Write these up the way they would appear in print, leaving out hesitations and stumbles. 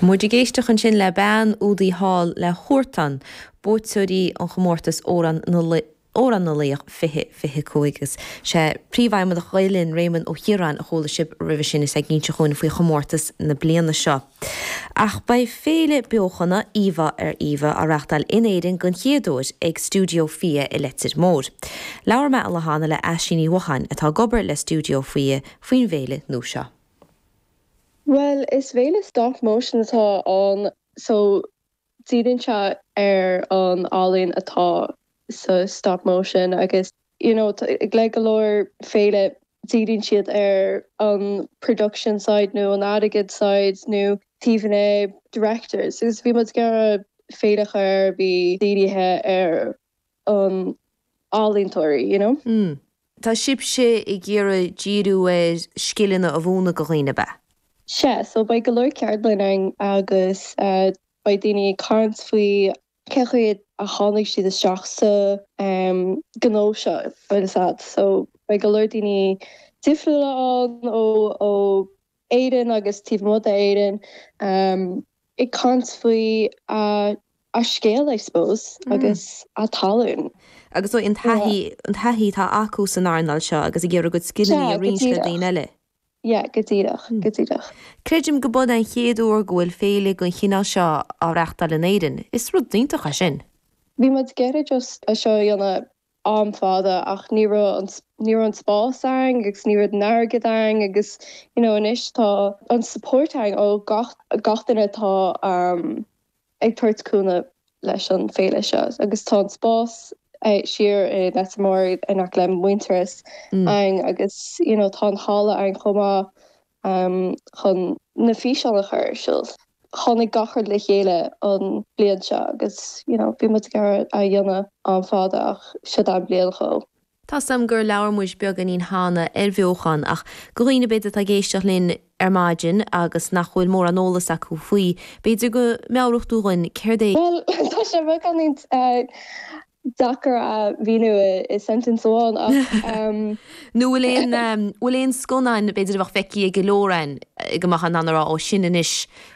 Muid ag éisteacht ansin le bean údaí thall le Huartan, buaiteoirí an chomórtais Amhrán na Amhrán na Laoch 2025 agus sé Príomhfheidhmeannach Ghael Linn, Réamonn Ó Ciaráin a chuala sibh roimhe sin is é ag inse dhúinn faoi chomórtas na bliana seo. Ach beidh féile beochana, Íomhá ar Íomhá, á reáchtáil in Éirinn den chéad uair ag Stiúideo Fia i Leitir Móir. Labhair mé an lá cheana le Aisling Ní Mhocháin, atá ag obair le Stiúideo Fia, faoin bhféile nua seo. Bhuel, is féile stop motion atá ann so díríonn sé ar an ealaín atá sa stop motion agus you know le go leor féile díríonn siad ar an production side nó an airgead side nó taobh na directors agus bhí muid ag iarraidh féile a chur a bhí dírithe ar an ealaíontóirí, you know. Mm. Tá sibhse ag iarraidh díriú ar scileanna a mhúineadh do dhaoine, ab ea? Sea, so beidh go leor ceardlann ann agus beidh daoine ag caint faoi cén chaoi a tháinig siad isteach sa gnó seo, bhfuil fhios a'd. So beidh go leor daoine difriúla ann ó ó Éirinn agus taobh amuigh d'Éirinn ag caint faoi a scéal, I suppose, agus a tallann. Agus an taithí, an taithí atá acu san earnáil seo agus ag iarraidh a gcuid scileanna a roinnt le daoine eile. Yeah, go díreach, go díreach. Creidim go b'in an chéad uair go bhfuil féile den chineál seo á reáchtáil in Éirinn. Is rud iontach é sin. Bhí muid ag iarraidh just é seo a dhéanamh am fada ach ní raibh an ní raibh an spás ann agus ní raibh an airgead ann agus you know anois tá an support ann ó gach gach duine atá um ag tabhairt cúnamh leis an féile seo agus tá an spás siar i Leitir Móir in aice le Muintearas ann agus you know tá an halla ann chomh maith um chun na físeáin a chur ar siúl. Tháinig gach rud le chéile an bliain seo agus you know bhí muid ag iarraidh a dhéanamh am fada ach seo an bliain dhó. Tá's a'm gur labhair muid beagáinín cheana ar bheochan ach do dhaoine b'fhéidir atá ag éisteacht linn ar maidin agus nach bhfuil mórán eolas acu faoi, b'fhéidir go meabhródh tú dhúinn céard é? Bhuel tá sé beagáinín deacair a mhíniú i sentence amháin ach. Nó bhfuil aon, bhfuil aon scannáin b'fhéidir a bheadh feicthe ag go leor againn go mbeadh in ann a rá ó sin anois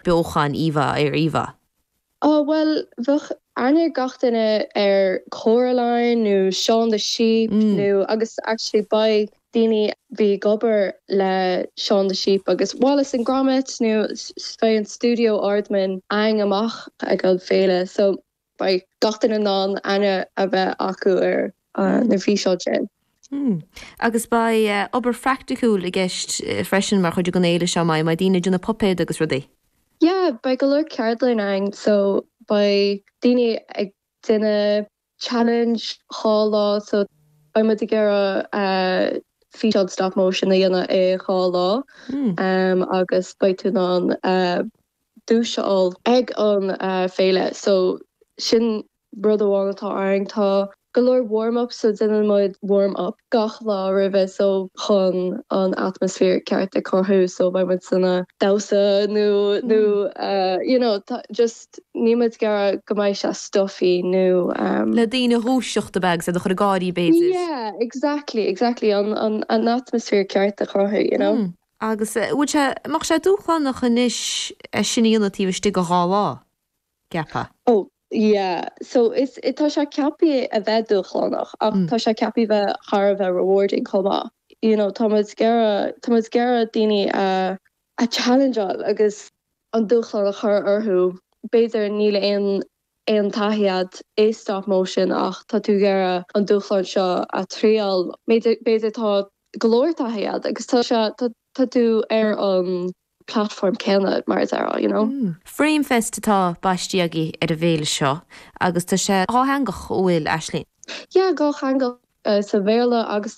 beochan íomhá ar íomhá? Ó bhuel bheadh aithne ag gach duine ar Coraline nó Shaun the Sheep nó agus actually beidh daoine a bhí ag obair le Shaun the Sheep agus Wallace and Gromit nó beidh an stiúideo Aardman ann amach ag an féile so Beidh gach duine in ann aithne a bheith acu ar na físeáin sin. Agus beidh obair phraiticiúil i gceist freisin mar chuid den fhéile seo, an mbeidh? Beidh daoine ag déanamh puipéad agus rudaí? Yeah, beidh go leor ceardlann ann so beidh daoine ag déanamh challenge 2 lá so beidh muid ag iarraidh físeán stop motion a dhéanamh i 2 lá agus beidh tú in ann duais a fháil ag an féile so sin rud amháin atá ann. Tá go leor warm up so déanann muid warm up gach lá roimhe so chun an atmaisféar ceart a chruthú so beidh muid ag damhsa nó nó you know just níl muid ag iarraidh go mbeidh sé stuffy nó. Le daoine a dhúiseacht ab ea agus iad a chur ag gáirí b'fhéidir. Yeah exactly exactly an an an atmaisféar ceart a chruthú you know. Agus bhfuil sé, mbeadh sé dúshlánach anois é sin a dhéanamh taobh istigh de 2 lá, gceapfá? Oh yeah, so is, tá sé ceaptha a bheith dúshlánach ach tá sé ceaptha bheith thar a bheith rewarding chomh maith. You know, tá muid ag iarraidh, tá muid ag iarraidh daoine a, a challenge-áil agus an dúshlán a chur orthu. B'fhéidir níl aon aon taithí a'd i stop motion ach tá tú ag iarraidh an dúshlán seo a thriail. B'fhéidir tá go leor taithí a'd agus tá sé, tá tú ar an platform céanna mar a déarfá, you know. Framefest atá baistí agaibh ar an bhféile seo agus tá sé dhátheangach, an bhfuil, Aisling? Yeah, dhátheangach, sa Bhéarla agus sa.